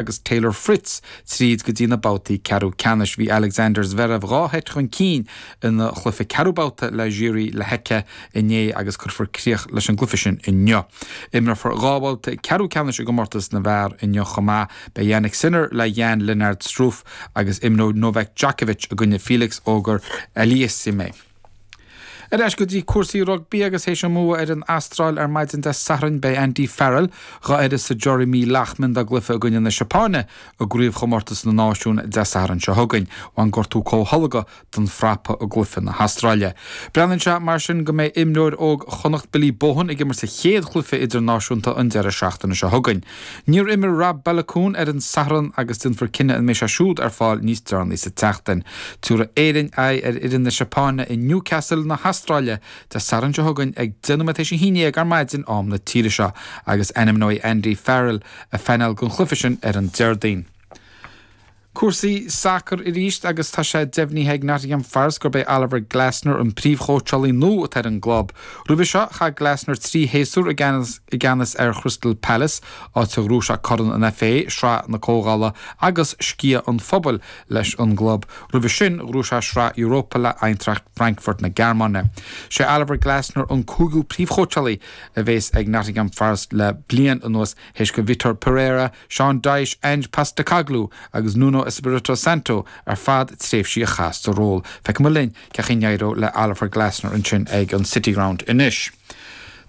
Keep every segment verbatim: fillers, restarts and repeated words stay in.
agus Taylor Fritz tríd go dtí na babhtaí ceathrú ceannais. Bhí Alexander Zverev dhá sheit chun cinn ina chluiche ceathrú babhta le Jiří Lehecka inné agus cuirfear críoch leis an gcluiche sin inniu. Imreofar dhá bhabhta ceathrú ceannais i gcomórtas na bhfear inniu chomh maith. Beidh Jannik Sinner le Jan-Lennard Struff agus imreoidh Novak Djokovic i gcoinne Felix Auger-Aliassime. Ar ais go dtí cúrsaí rugbaí agus théis an mbua ar an Astráil ar maidin Dé Sathairn beidh Andy Farrell dhá uireasa Jeremy Loughman dá gcluiche i gcoinne na Seapáine i gcraobhchomórtas na náisiún Dé Sathairn seo chugainn. Bhain gortú comhtholgtha don phrapa i gcluiche na hAstráile. Breathnaíonn sé mar sin go mbeidh imreoir óg Chonnacht Billy Bohan ag imirt sa chéad chluiche idirnáisiúnta an deireadh seachtaine seo chugainn. Níor imir Rob Baloucoune ar an Satharn agus déanfar cinneadh an mbeidh sé siúd ar fáil níos deireanaí sa tseachtain. Tabharfaidh Éirinn aghaidh ar fhoireann na Seapáine i Newcastle na hAstráile Dé Sathairn seo chugainn ag deich nóiméad théis a haon déag ar maidin am na tíre seo agus ainmneoidh Andy Farrell a phainéal don chluiche sin ar an Déardaoin. Cúrsaí sacair arís agus tá sé deimhnithe ag Nottingham Forest gurb é Oliver Glasner an príomhchóitseálaí nua atá ar an gclub. Roimhe seo chaith Glasner trí shéasúr i gceannas ar Crystal Palace, áit a ghnóthaigh sé Corn an FA, Sraith na Comhdhála agus Sciath an Phobail leis an gclub. Roimhe sin ghnóthaigh sé Sraith Europa le Eintracht Frankfurt na Gearmáine. Sé Oliver Glasner an cúigiú príomhchóitseálaí a bheas ag Nottingham Forest le bliain anuas théis do Vitor Pereira, Sean Dyche, Ange Postecoglou agus Nuno Espirito Santo ar fad tréimhsí a chaitheamh sa ról. Feicfidh muid linn cén chaoi a n-éireoidh le Oliver Glasner ansin ag an City Ground anois.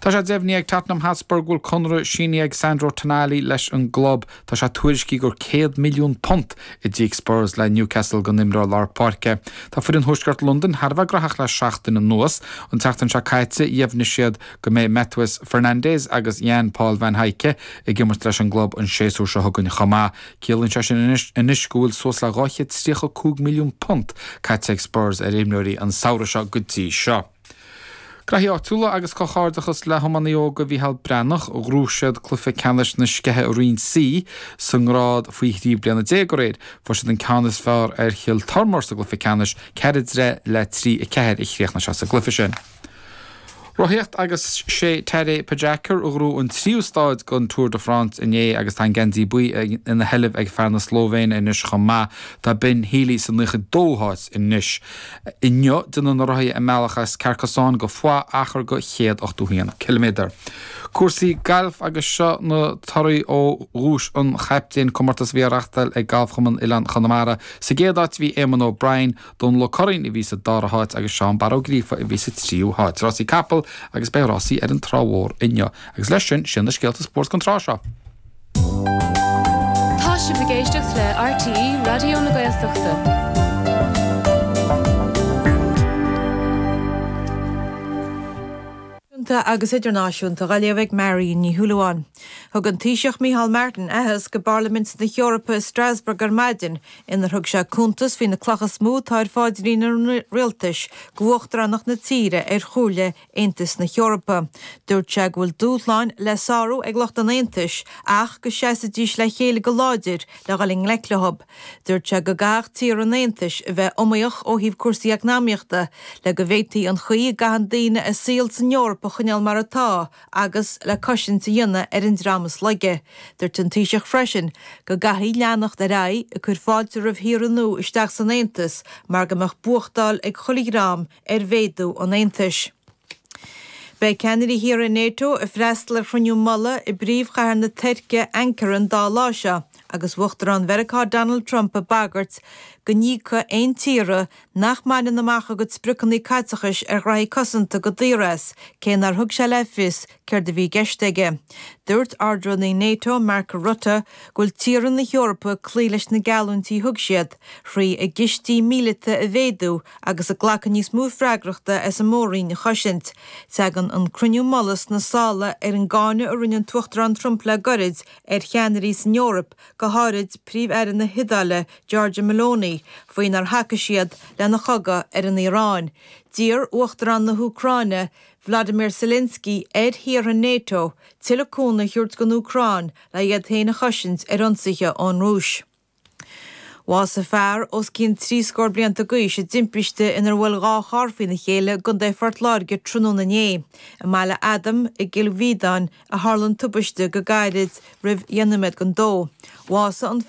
Tá sé deimhnithe ag Tottenham Hotspur go bhfuil conradh sínithe ag Sandro Tonali leis an gclub. Tá sé tuairiscithe gur céad milliún punt a d'íoc Spurs le Newcastle don imreoir lár páirce. Tá foireann Thuaisceart Londain thar a bheith gnóthach le seachtain anuas. An tseachtain seo caite dheimhnigh siad go mbeidh Matheus Fernandes agus Jan Paul van Hecke ag imirt leis an gclub an séasúr seo chugainn chomh maith. Ciallaíonn sé sin anois go bhfuil suas le dhá chéad tríocha cúig milliún punt caite ag Spurs ar imreoirí an samhradh seo go dtí seo. Graithí áitiúla agus comhghairdeachas le hiománaí óga Mhícheál Breathnach, ghnóthaigh siad cluiche ceannais na Sceiche i Roinn C sa ngrád faoi thrí bliana déag aréir. Fuair siad an ceann is fearr ar Chill Tormóir sa gcluiche ceannais, ceithre deich le trí a ceathair a chríochnaigh sé sa gcluiche sin. Rothaíocht agus sé Tadej Pogačar a ghnóthaigh an tríú stáid den Tour de France inné agus tá an geansaí buí ina sheilbh ag fear na Slóivéine anois chomh maith. Tá Ben Healy sa naocha dóú háit anois. Inniu déanfaidh na rothaithe a mbealach as Carcassonne go Foix achar de chéad ochtó haon ciliméadar. Cúrsaí gailf agus seo na torthaí ó Dhuais an Chaptaein, comórtas a bhí á reáchtáil ag Galfchumann Oileán Chonamara. Sa gcéad áit bhí Éamonn O'Brien, Dónal Ó Curraoin a bhí sa dara háit agus Seán Barra Ó Gríofa a bhí sa tríú háit. Rásaí capall agus beidh rásaí ar an Trá Mhór inniu. Agus leis sin, sin na scéalta spóirt don tráth seo. Tá sibh ag éisteacht le RTÉ Raidió na Gaeltachta. Náisiúnta agus idirnáisiúnta á léamh ag Marion Ní Shúilleabháin. Thug an Taoiseach Micheál Martin aitheasc go bParlaimint na hEorpa i Strasbourg ar maidin, inar thug sé cuntas faoi na clocha is mó atá ar phaidrín an rialtais go huachtaránacht na tíre ar Chomhairle Aontas na hEorpa. Dúirt sé go bhfuil dúshláin le sárú ag lucht an Aontais ach go seasfaidís le chéile go láidir le dhul i ngleic leo. Dúirt sé go gcaithfeadh tíortha an Aontais a bheith iomaíoch ó thaobh cúrsaí eacnamaíochta le go bhféadfaí an chaoi a gcaitheann daoine a saol san Eoraip a choinneáil mar atá agus le cosaint a dhéanamh ar an dream is laige. Dúirt an Taoiseach freisin go gcaithfí leanacht ar aghaidh ag cur fáilte roimh thíortha nua isteach san Aontas mar go mbeadh buachtáil ag chuile dhream ar mhéadú an Aontais. Beidh ceannairí thíortha NATO ag freastal ar chruinniú mullaigh i bpríomhchathair na Tuirce, Ankara, an dá lá seo agus Uachtarán Mheiriceá Donald Trump ag bagairt go n-íocfaidh aon tíortha nach mbaineann amach a gcuid spriocanna caiteachais ar ghraithí cosanta go daor as, cé nár thug sé le fios céard a bhí i gceist aige. Dúirt Ard-Rúnaí NATO, Mark Rutte, go bhfuil tíortha na hEorpa ag cloí leis na geallúintí a thug siad, thrí a gcistí míleata a mhéadú agus ag glacadh níos mó freagrachta as an mór-roinn a chosaint. Tagann an cruinniú mullaigh sna sála ar an gcáineadh a rinne an tUachtarán Trump le gairid ar cheannairí san Eoraip, go háirid Príomh-Aire na hIodáile, Giorgia Meloni, faoi nár thacaigh siad lena chogadh ar an Iaráin. D'iarr Uachtarán na hÚcráine, Vladimir Zelensky, ar thíortha NATO tuilleadh cúnamh a thabhairt don Úcráin le iad féin a chosaint ar ionsaithe ón Rúis. Bhásaigh fear os cionn trí scór blianta d'aois i dtimpiste inar bhuail dhá charr faoina chéile i gContae Phort Láirge tráthnóna inné. I mBaile Adaim i gCill Mhíodáin a tharla an tubaiste go gairid roimh dheich nóiméad don dó. Bhásaigh an